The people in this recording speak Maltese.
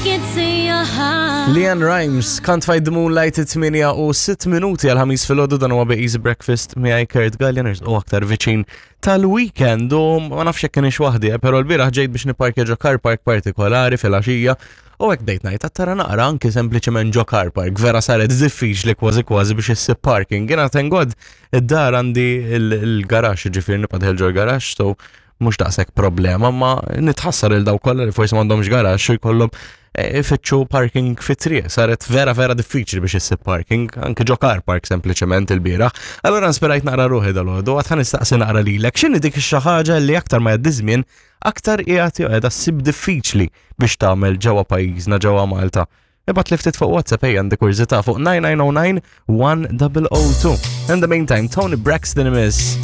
Gets in your heart. LeAnn Rimes, Can't Fight the Moonlight 8 u 6 minuti għal ħamis filgħodu dan huwa Be Easy Breakfast miegħi Kurt Gallia u aktar viċin tal-weekend u ma nafx jekk kienx waħdi, eh, però l-bieraħ ġejt biex nipparkja ġo car park partikolari fil-għaxija u hekk bdejt ngħid tara naqra anki sempliċement ġo car park vera saret diffiċli kważi kważi biex issib parking. Jiena thank God id-dar għandi il-garaxx, ġifieri nibqa' dieħel ġo l-garaxx, so mhux daqshekk problema, ma nitħassar il daw kollha li forsi m'għandhomx garaxx u jkollhom eh, ifittxu parking fit-triq. Saret vera vera diffiċli biex issib parking, anke ġo car park sempliċement il-bieraħ. Allura nspirajt naqra ruħi dal-għodu, għad ħa nistaqsi naqra lilek, x'inhi dik xi ħaġa li aktar ma jgħaddi żmien aktar qiegħed jew qiegħda ssib diffiċli biex tagħmel ġewwa pajjiżna ġewwa Malta. Ibgħat li ftit fuq WhatsApp ejja għandi kurżità fuq 9909 1002. In the meantime, Toni Braxton imiss.